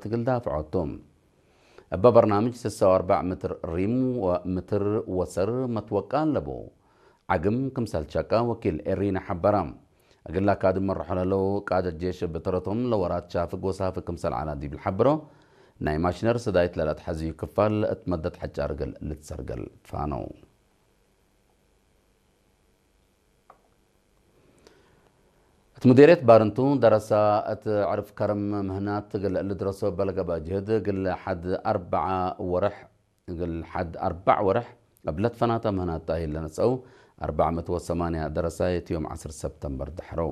ትግል ዳፍዖቱ። እበ በርናምጅ ስሳ ወኣርባዕ ምትር ሪም ወምትር ወሰር መትወቃ ኣለቡ። ዓግም ክምሰል ቸቃ ወኪል ኤሪና ሓበራ። እግላ ካድ መርሖ ለለው ቃደ ጄሽ ብትረቶም ለወራት ቻፍ ጎሳፍ ክምሰል ዓላ ዲብል ሓብሮ። ናይ ማሽነር ስዳይት ለላት ሓዝዩ ክፋል እት መደት ሓጫር ግል ልትሰርገል ትፋነው። እት ሙዴርየት ባርንቱ ደረሳ እት ዕርፍ ከረም ምህናት ትግል ልድረሶ በለገባ ጅህድ ግል ሓድ ኣርባዓ ወርሕ ግል ሓድ ኣርባዕ ወርሕ እብለት ፈናታ ምህናት ታሂል ለነጸው ኣርባዕ መቶ ወሰማንያ ደረሳ የትዮም ዓስር ሰፕተምበር ድሕረው።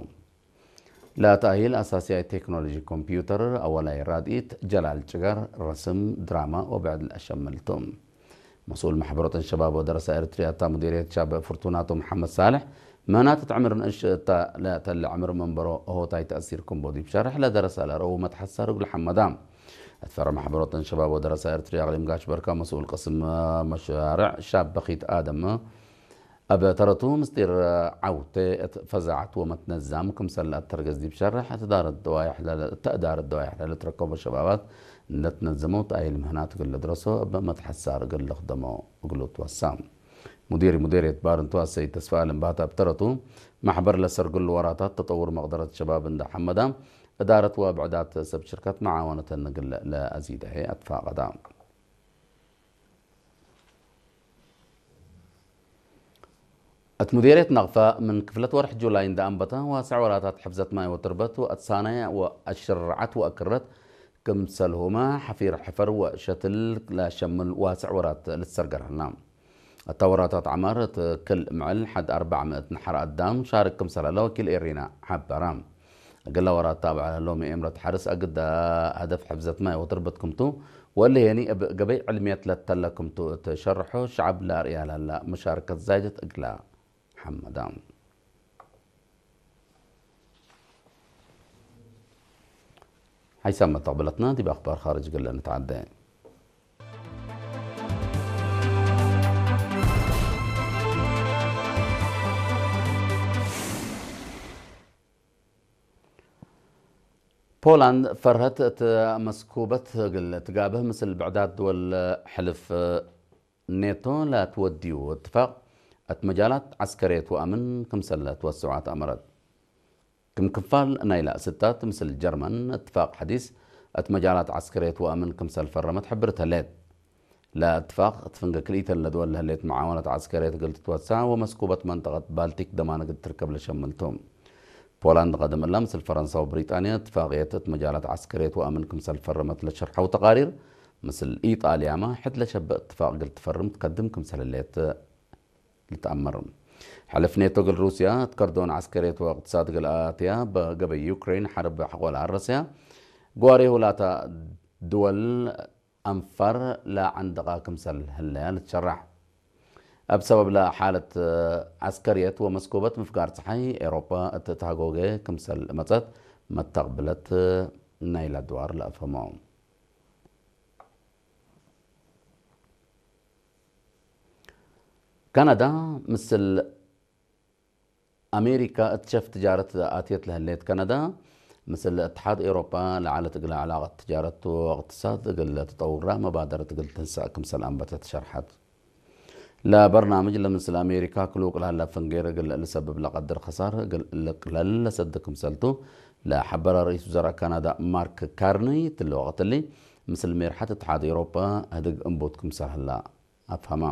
ለታሂል ኣሳሲያይ ቴክኖሎጂ ኮምፒውተር ኣወላይ ራድኢት ጀላል ጭጋር ረስም ድራማ ወብዕድ ለሸምልቶም። መስኡል ማሕበሮትን ሸባብ ወደረሳ ኤርትርያ እታ ሙዲርየት ሻብ ፍርቱናቶ መሓመድ ሳልሕ ምህናት ትዕምር ንእሽ እታ ለተለ ዕምር መንበሮ እሆታይ ተእሲርኩም ቦዲ ብሸርሕ ለደረሳ ለረቡ መትሓሳር እግሉ ሓመዳ። እትፈረ ማሕበሮትን ሸባብ ወደረሳ ኤርትርያ ኣቕሊም ጋሽ በርካ መስኡል ቅስም መሻርዕ ሻብ በኺት ኣደም ኣብ ተረቱ ምስጢር ዓውተ እት ፈዛዓት ወመትነዛም ክምሰል ኣተርገዝ ዲብ ሸርሕ እትዳረት ደዋይሕ ለለ- እተእዳረት ደዋይሕ ለለትረከቦ ሸባባት እንደትነዘመው ተኣይል ምህናት ግል ድረሶ እብ መትሓሳር ግል ልኽደሞ እግሉ ትወሳ። ሙዲር ሙዲርየት ባር እንተዋሰይ ተስፋ ኣለም ባታ ብተረቱ ማሕበር ለሰርግሉ ወራታት ተጠውር መቕደረት ሸባብ እንዳ ሓመዳ እዳረት ወብዕዳት ሰብ ሽርከት መዓወነተን ግል ለኣዚዳሄ ኣትፋቐዳ። እት ሙዴርየት ናቕፋ ምን ክፍለት ወርሕ ጁላይ እንዳ ኣንበታ ዋስዕ ወራታት ሕፍዘት ማይ ወትርበት ወእትሳናይ ወእሽርዓት ወእክረት ክምሰልሁማ ሓፊር ሕፈር ወሸትል ላሸምል ዋስዕ ወራት ልትሰርገርሃልና። እታ ወራታት ዓማር እት ክል ምዕል ሓድ ኣርባዕ ምእት ንሓር ኣዳም ሻርክ ክምሰላለ ወኪል ኤሪና ሓበራ። እግላ ወራት ታብዕ ሎሚ ኤምረት ሓርስ ኣግዳ ሃደፍ ሕፍዘት ማይ ወትርበት ክምቱ ወልሄኒ እብ ገበይ ዕልምየት ለተለ ክምቱ እት ሸርሖ ሸዓብ ለኣርእያ ላላ መሻርከት ዛይደት እግላ ሓመዳ። ሓይሳብ መተቕበለትና ዲብ ኣኽባር ኻርጅ ገለ ንትዓደ። ፖላንድ ፈርሀት እት መስኩበት እግል ትጋብህ ምስል ብዕዳት ድወል ሕልፍ ኔቶ ላትወድዩ እትፋቅ እት መጃላት ዐስከርየት ወአምን ክምሰል ለትወስዖ አትአመረት። ክም ክፋል ናይላ ስታት ምስል ጀርመን እትፋቅ ሐዲስ እት መጃላት ዐስከርየት ወአምን ክምሰል ፈረመት ሕብርት ህሌት። ለእትፋቅ እት ፍንገ ክልኢተን ለድወል ለህሌት መዓወነት ዐስከርየት እግል ትትወሳዕ ወመስኩበት መንጠቀት ባልቲክ ደማን እግል ትርከብ ለሸምልቱ። ፖላንድ ቀደም እላ ምስል ፈረንሳ ወብሪጣንያ እትፋቅየት እት መጃላት ዐስከርየት ወአምን ክምሰል ፈረመት ለሸርሐው ተቃሪር፣ ምስል ኢጣልያማ ሕድ ለሸብእ እትፋቅ እግል ትፈርም ትከድም ክምሰል ህሌት ልትአመር። ሕልፍ ኔቶ እግል ሩስያ እት ከርዶን ዐስከርየት ወእቅትሳድ እግል አትያ በገበይ ዩክሬን ሐርብ ሐቆ ለአረሰያ፣ ግዋሬ ሁላታ ድወል አንፋር ለዐንደቃ ክምሰል ህለያ ልትሸራሕ። እብ ሰበብ ለሓለት ዐስከርየት ወመስኮበት ምፍጋር ጸሓይ ኤሮፓ እት ተሃጎገ ክምሰል መጸት መተቅብለት ናይላ ድዋር ለአፈሞ። ካናዳ ምስል አሜሪካ እት ሸፍ ትጃረት አትየት ለህሌት ካናዳ፣ ምስል እትሓድ ኤውሮጳ ለዐለት እግለ ዐላቀት ትጃረት ወእቅትሳድ እግል ትጠውራ መባደረት እግል ትንሰእ ክምሰል አንበተት ሸርሐት። ለበርናምጅ ለምስል አሜሪካ ክሉቅ ለሀለ ፍንጌር እግል ልሰብብ ለቀድር ከሳር እግል ልቅለል ለሰድ ክምሰልቱ ለሐበረ ርኢስ ውዘራእ ካናዳ ማርክ ካርኒ ትለ ወቅት እሊ፣ ምስል ሜርሐት እትሓድ ኤውሮጳ ህድግ እንቡት ክምሰል ህላ። አፍሀማ።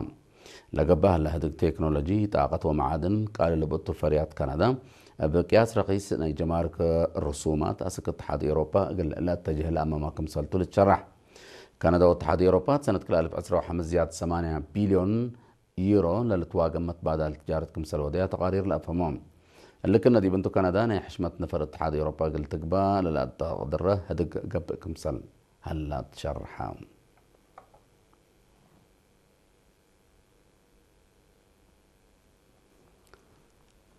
ለገባህ ለህድግ ቴክኖሎጂ፣ ጣቀት ወመዓድን ቃል ልብእቱ ፈርያት ካናዳ፣ እብ ቅያስ ረኺስ ናይ ጀማርክ ርሱማት አስክ እትሓድ ኤውሮፓ እግል ለአተጅህ ለአመማ ክምሰልቱ ልትሸራሕ። ካናዳ ወእትሓድ ኤውሮፓ ሰነት ክልአልፍ ዕስራ ወሐምስ ዝያድ ሰማንያ ቢልዮን ዩሮ ለልትዋገም መትባዳል ትጃረት ክምሰል ወደያ ተቃሪር ለአፍሀሞ። እልክነ ዲብ እንቱ ካናዳ ናይ ሕሽመት ነፈር እትሓድ ኤውሮፓ እግል ትግባ ለለአተቅድረ ህድግ ገብእ ክምሰል ሀላ ትሸርሐ።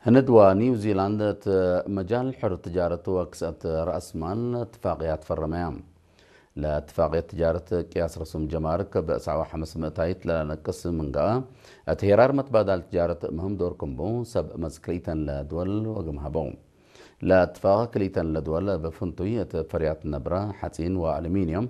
ህንድ ወኒው ዚላንድ እት መጃል ሕር ትጃረት ወክስአት ረአስ ማል እትፋቅያ ትፈረመያ። ለእትፋቅየት ትጃረት ቅያስ ረሱም ጀማርክ ብዕሳዋ ሐምስ ምእታይት ለለነቅስ ምንጋአ፣ እት ሄራር መትባዳል ትጃረት ምህም ዶር ክምቡ ሰብ መዝክሪተን ለድወል ወግም ሀበው። ለአትፋቅ ክሊተን ለድወል እብ ፍንቱይ እት ፈርያት ነብረ፣ ሐጺን ወአሉሚንዮም